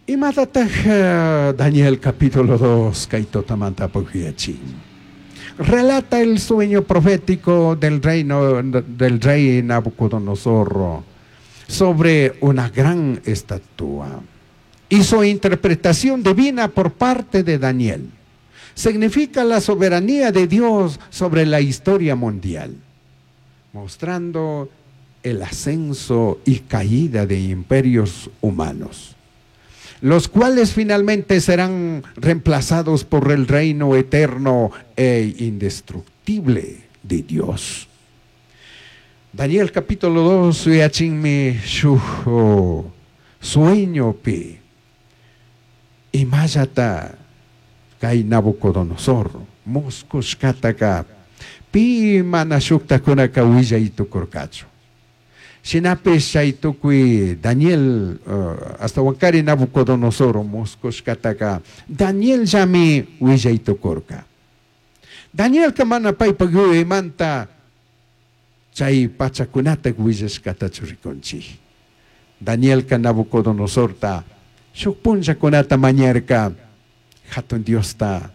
Imatataj Daniel capítulo 2 kay tutamanta yuyachin? Relata el sueño profético del reino del rey Nabucodonosor sobre una gran estatua y su interpretación divina por parte de Daniel. Significa la soberanía de Dios sobre la historia mundial, mostrando el ascenso y caída de imperios humanos, los cuales finalmente serán reemplazados por el reino eterno e indestructible de Dios. Daniel capítulo 2 yuyachinmi shuj sueñopi imallata kay Nabucodonosor muscushcataca pi mana shujtajcunaca huillai tucurcachu. Shinapish chay tucui Daniel ashtahuancari Nabucodonosor muscushcataca Danielllami huillai tucurca. Danielca mana paipaj yuyaimanta chay pachacunata huillashcatachu ricunchij. Danielca Nabucodonosorta shuj punllacunata mañarca Jatun Diosta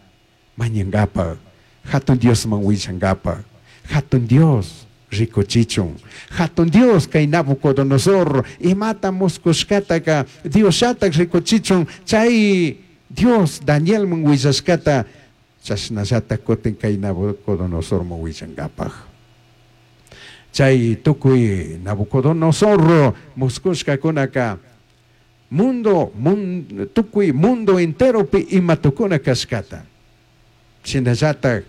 mañangapaj, Jatun Diosman huillangapaj, Jatun Dios ricuchichun. Jatun Dios kay Nabucodonosor imata muscushcataca Diosllataj ricuchichun chay Dios Danielman huillashcata chashnallataj cutin kay Nabucodonosorman huillangapaj. Chay tucui Nabucodonosor muscushcacunaca mundo, tucui mundo enteropi ima tucuna cashcata. Shinallataj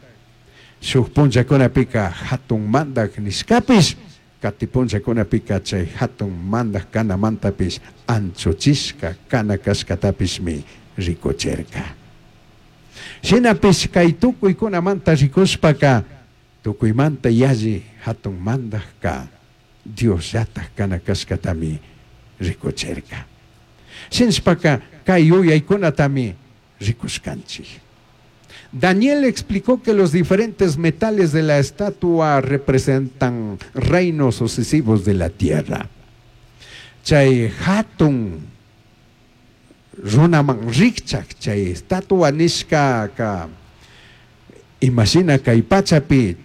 shuj punllacunapika jatun mandaj nishcapish, cati punllacunapika chay jatun mandaj canamantapish anchuchishca cana cashcatapishmi ricuchirca. Shinapish kay tucuicunamanta ricushpaca tucuimanta yalli jatun mandajca Diosllataj cana cashcatami ricuchirca. Shinashpaca kay yuyaicunatami ricushcanchij. Daniel explicó que los diferentes metales de la estatua representan reinos sucesivos de la tierra. Chay hatun runaman rikchak chay estatua nishkaka imashina kay pachapi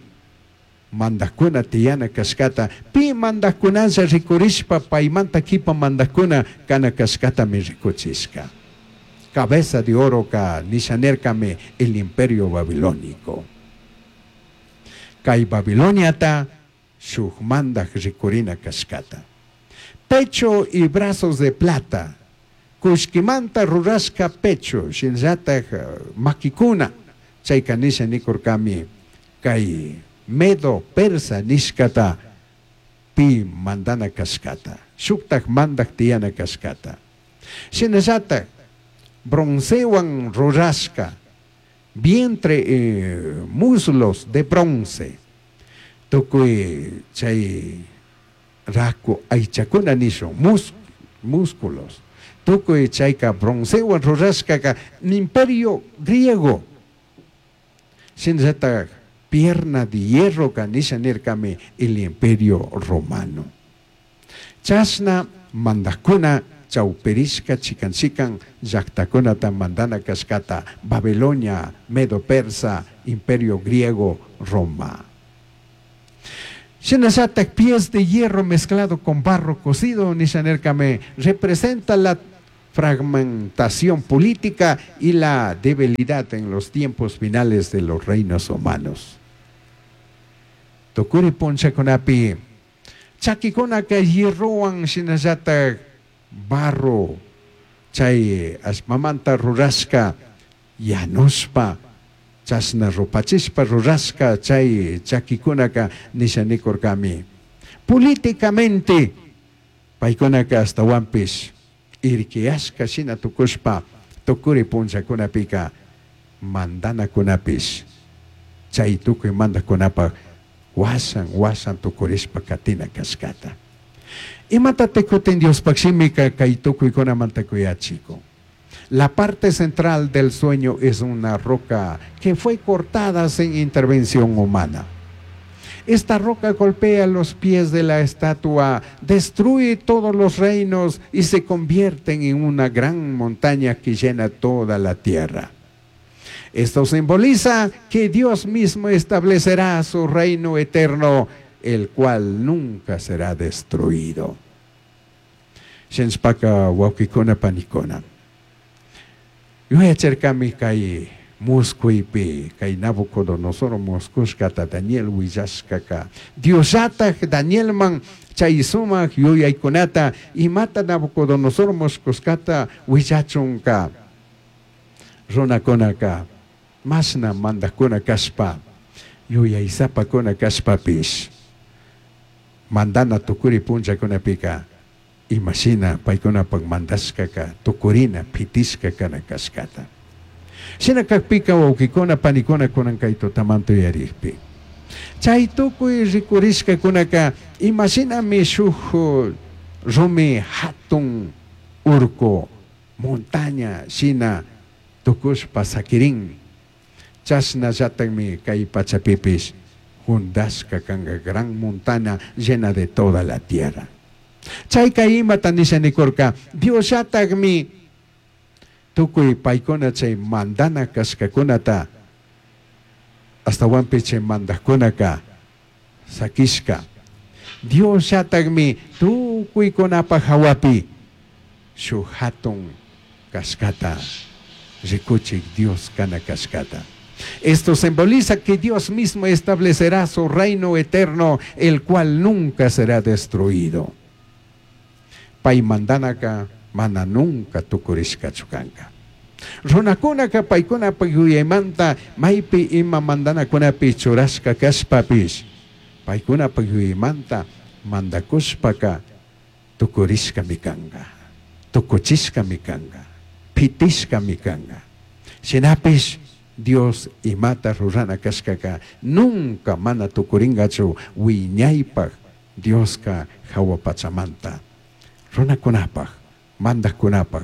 mandajkuna tiyana kashkata pi mandajkunalla rikurishpa paymanta kipa mandajkuna kana kashkatami rikuchishka. Cabeza de oro ka nisha nirkami el imperio babilónico. Kay Babiloniata shuj mandaj rikurina kashkata. Pecho y brazos de plata. Kullkimanta rurashka pecho, shinallataj makikuna, chayka nisha nikurkami kay medo persa nishkata pi mandana kashkata, shuktaj mandaj tiyana kashkata. Shinallataj broncewan rurashka, vientre, muslos de bronce, tukuy chay raku aychakuna nishun, músculos, tukuy chayka broncewan rurashkaka imperio griego. Shinallataj pierna de hierro ka nisha nirkami el imperio romano. Chashna mandajkuna chawpirishka chikan chikan llaktakunata mandana kashkata Babilonia, Medo Persa, Imperio Griego, Roma. Shinallataj pies de hierro mezclado con barro cocido, nisha nirkami, representa la fragmentación política y la debilidad en los tiempos finales de los reinos humanos. Tukuri punchakunapi, chakikunaka hierrowan shinallataj barro chay allpamanta rurashka yanushpa chashna rupachishpa rurashka chay chakikunaka nisha nikurkami. Políticamente paykunaka ashtawanpish irquiyashka shina tukushpa tukuri punllakunapika mandanakunapish chay tukuy mandakunapaj washan washan tukurishpa katina kashkata. Imatataj kutin Diospaj shimika kay tukuykunamanta kuyachikun. La parte central del sueño es una roca que fue cortada sin intervención humana. Esta roca golpea los pies de la estatua, destruye todos los reinos y se convierten en una gran montaña que llena toda la tierra. Esto simboliza que Dios mismo establecerá su reino eterno, el cual nunca será destruido. Shinshpaka wawkikuna panikuna. Yuyacharkami kay musquypi kay Nabucodonosor musqushkata Daniel willashkaka Diosllataj Danielman chay sumaq yuyaykunata imata Nabucodonosor musqushkata willachunka runakunaka mashna mandajkuna kashpa yuyaysapakuna kashpapish mandana tukuri punllakunapika imashina paykunapak mandashkaka tukurina pitishka kana kashkata. Shina kakpika wawkikuna panikuna kunan kay tutamanta yuyarikpi. Chay tukuy rikurishkakunaka imashinami shuk rumi hatun urku montaña shina tukushpa sakirin. Chashnallatakmi kay pachapipish jundashka kanka gran montaña llena de toda la tierra. Chayka imata nisha nikurka Diosllatakmi tukuy paykuna chay mandana kashkakunata astawanpi chay mandajkunaka sakishka. Diosllatakmi tukuykunapaj hawapi shuk hatun kashkata rikuchik Dios kana kashkata. Esto simboliza que Dios mismo establecerá su reino eterno, el cual nunca será destruido. Pay mandanaka mana nunca tukurishkachu kanka. Runakunaka paykunapaj yuyaymanta maypi ima mandanakunapi churashka kashpapish paykunapaj yuyaymanta mandakushpaka tukurishkami kanka, tukuchishkami kanka, pitishkami kanka. Shinapish Dios imata rurana kashkaka nunca mana tukurinkachu wiñaypaj Dioska hawa pachamanta runakunapaj mandajkunapaj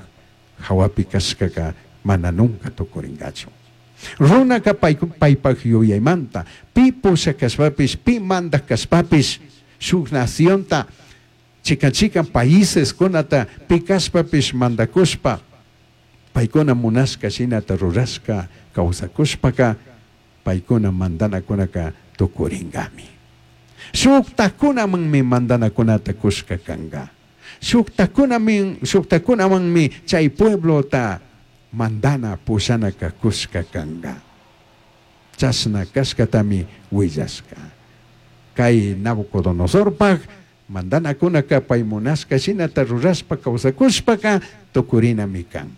hawapi kashkaka mana nunca tukurinkachu. Runaka paypaj yuyaymanta pi pusha kashpapish pi mandaj kashpapish shuk nacionta chikan chikan países kunata pi kashpapish mandakushpa paykuna munashka shinata rurashka kawsakushpaka paykuna mandanakunaka tukurinkami. Shuktakunamanmi mandanakunata kushka kanka. Shuktakunamanmi chay pueblota mandana pushanaka kushka kanka. Chashna kashkatami willashka. Kay Nabucodonosorpaj mandanakunaka pay munashka shinata rurashpa kawsakushpaka tukurinami kan.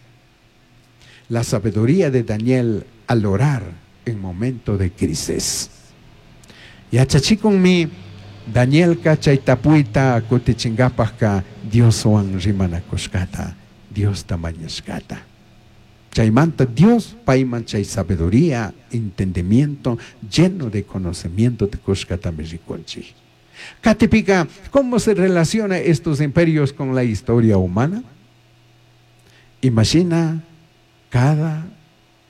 La sabiduría de Daniel al orar en momento de crisis. Yachachikunmi Danielka chay tapuyta kutichinkapajka Dioswan rimanakushkata, Diosta mañashkata. Chaymanta Dios payman chay sabiduría, entendimiento, lleno de conocimiento de kushkatami rikunchik. Katipika, ¿cómo se relaciona estos imperios con la historia humana? Imagina cada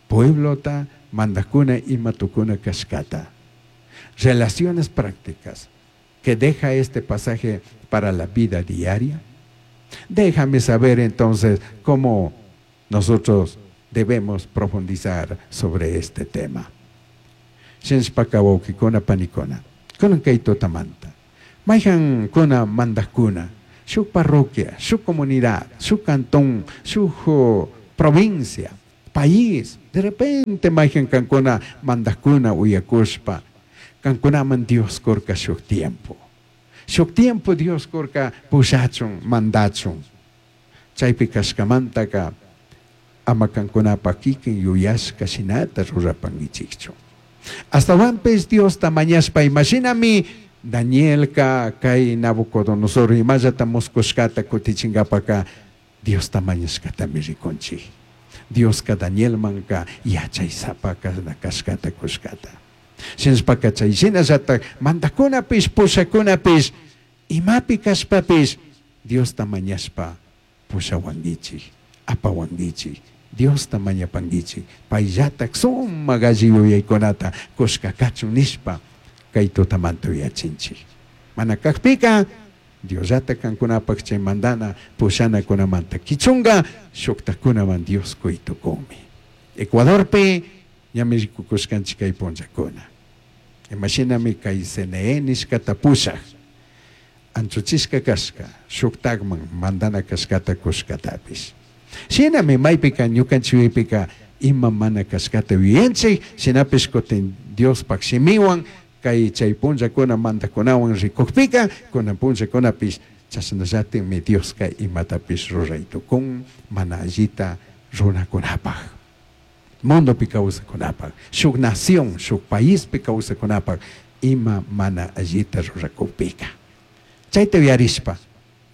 pueblota mandajkuna ima tukuna kashkata. Relaciones prácticas que deja este pasaje para la vida diaria. Déjame saber entonces cómo nosotros debemos profundizar sobre este tema. Shinshpaka wawkikuna panikuna, kunan kay tutamanta. Mayhan kuna mandajkuna, shuk parroquia, shuk comunidad, shuk cantón, shuk provincia, país. De repente mayhan kankuna mandajkuna uyakushpa, kankunaman Dios kurka shuk tiempo. Shuk tiempo Dios kurka pushachun, mandachun. Chaypi kashkamantaka ama kankunapa kikin yuyashka shinata rurapankichikchu. Astawanpis Diosta mañashpa imashinami Danielka kay Nabucodonosor imallata muskushkata kutichinkapaka Diosta mañashkatami rikunchik. Dioska Danielmanka yachaysapa kashkata kushkata. Shinashpaka chay shinallatak mandakunapish pushakunapish imapi kashpapish Diosta mañashpa pushawankichik, apawankichik, Diosta mañapankichik, payllatak sumak alli yuyaykunata kushka kachun nishpa Kay tutamanta uyachinchik. Mana kajpika Diosllata kankunapaj chay mandana pushanakunamanta kichunga shuktakunaman Dios kuytukunmi. Ecuadorpi ñami rikukushkanchik kay punllakuna. Imashinami kay CNE nishkata pushaj anchuchishka kashka shuktakman mandana kashkata kushkatapish. Shinami maypika ñukanchikpika ima mana kashkata yuyanchik, shinapish kutin Diospaj shimiwan kay chay punllakuna mandakunawan rikukpika kunan punllakunapish chashnallatikmi Dioska imatapish ruray tukun mana allita runakunapaj. Mundopi kawsakunapaj, shuk nación, shuk paispi kawsakunapaj ima mana allita rurakukpika. Chayta uyarishpa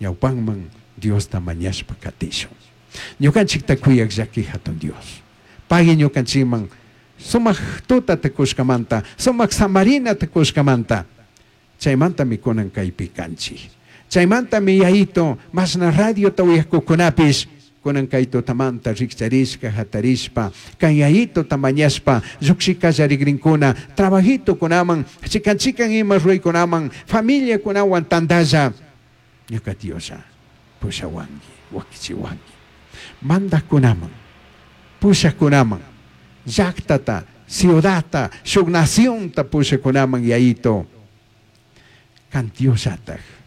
ñawpanman Diosta mañashpa katishun. Ñukanchikta kuyaq llaki hatun Dios. Pagui ñukanchikman sumaq tutata kushkamanta, sumaq samarinata kushkamanta. Chaymantami kunan kaypi kanchik. Chaymantami Yayito mashna radiota uyakukunapish kunan kay tutamanta rikcharishka hatarishpa kan Yayitota mañashpa lluqshi kallarikrinkuna trabajitokunaman chikan chikan ima ruraykunaman familiakunawan tantalla ñuka Dioslla pushawanki wakichiwanki mandaqkunaman pushaqkunaman llaqtata ciudadta shuk nacionta pushakunaman Yayito kan Diosllataj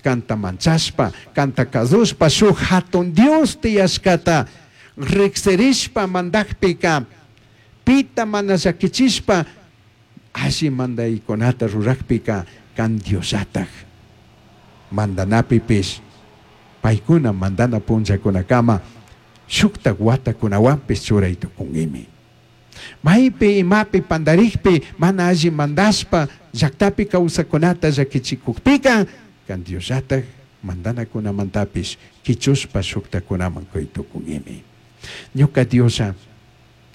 kanta manchashpa kanta kasushpa shuk hatun Dios tiyashkata riqsirishpa mandaqpika pita mana llakichishpa alli mandaykunata rurakpika kan Diosllataj mandanapipish paykuna mandana punllakunakama shuktak watakunawanpish churay tukunkimi. Maypi imapi pandarikpi mana alli mandashpa llaktapi kawsakunata llakichikukpika kan Diosllataj mandanakunamantapish kichushpa shuktakunaman kuy tukunkimi. Ñuka Dioslla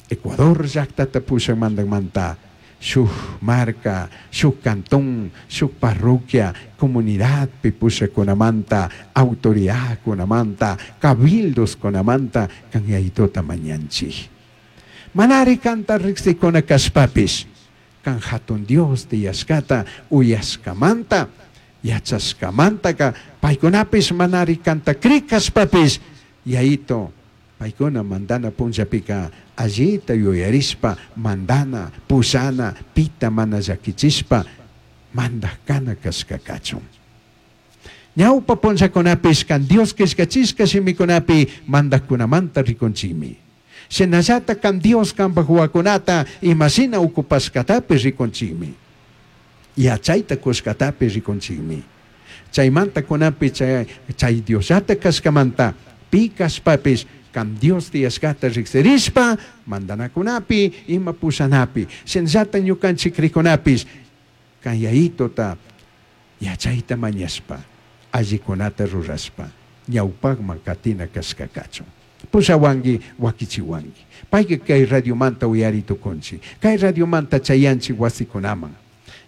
Ecuador llaktata pushak mandakmanta shuk marca, shuk cantón, shuk parroquia, comunidadpi pushakunamanta, autoridadkunamanta, cabildoskunamanta kan Yayitota mañanchik. Manari kanta riqsikuna kashpapish kan hatun Dios tiyashkata uyashkamanta yachashkamantaka paykunapish manari kanta crik kashpapish Yayito paykuna mandana punllapika allita yuyarishpa mandana pushana pita mana llakichishpa mandak kana kashka kachun. Ñawpa punllakunapish kan Dios killkachishka shimikunapi mandakkunamanta rikunchikmi. Shinallata kan Dios kanpak wawakunata imashina ukupashkatapish rikunchikmi. Yachayta kushkatapish rikunchikmi. Chaymanta kunapi chay chay Diosllata kashkamanta pi kashpapish kan Dios tiyashkata riqsirishpa mandanakunapi ima pushanapi shinallata ñukanchik krikunapish kan Yayitota yachayta mañashpa allikunata rurashpa ñawpakman katina kashka kachun. Pushawanki wakichiwanki. Payka kay radiomanta uyari tukunchik. Kay radiomanta chayanchik wasikunaman.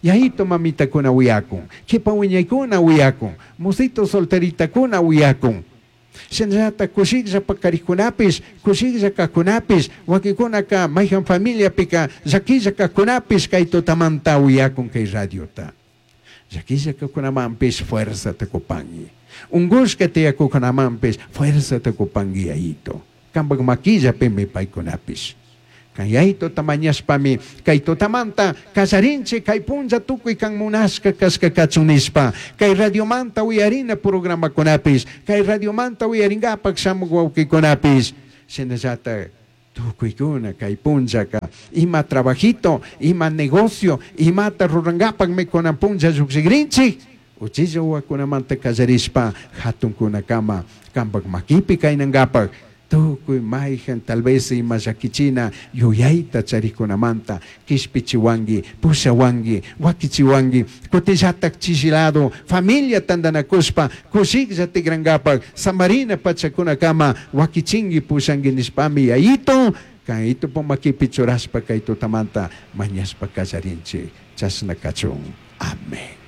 Yayito mamitakuna uyakun, kipa wiñaykuna uyakun, musito solteritakuna uyakun. Shinallata kushiklla pakarikunapish, kushiklla kajkunapish, wakinkunaka mayjan familiapika llakilla kajkunapish kay tutamanta uyakun kay radiota. Llakilla kajkunamanpish fuerzata kupanki. Unkushka tiyakukunamanpish fuerzata kupanki Yayito. Kanpak makillapimi paykunapish. Kan Yayitota mañashpami kay tutamanta kallarinchik kay punlla tukuy kan munashka kashka kachun nishpa kay radiomanta uyarina programakunapish kay radiomanta uyarinkapak shamuk wawkikunapish shinallata tukuykuna kay punllaka ima trabajito ima negocio imata rurankapakmi kunan punlla llukshikrinchik uchilla wawakunamanta kallarishpa hatunkunakama kanpak makipi kaynankapak tukuy mayjan tal vez ima llakichina yuyayta charikunamanta kishpichiwanki pushawanki wakichiwanki kutillatak chishilado familia tantanakushpa kushiklla tikrankapak samarina pachakunakama wakichinki pushanki nishpami Yayito kan itupu makipi churashpa kay tutamanta mañashpa kallarinchik chashna kachun. Amén.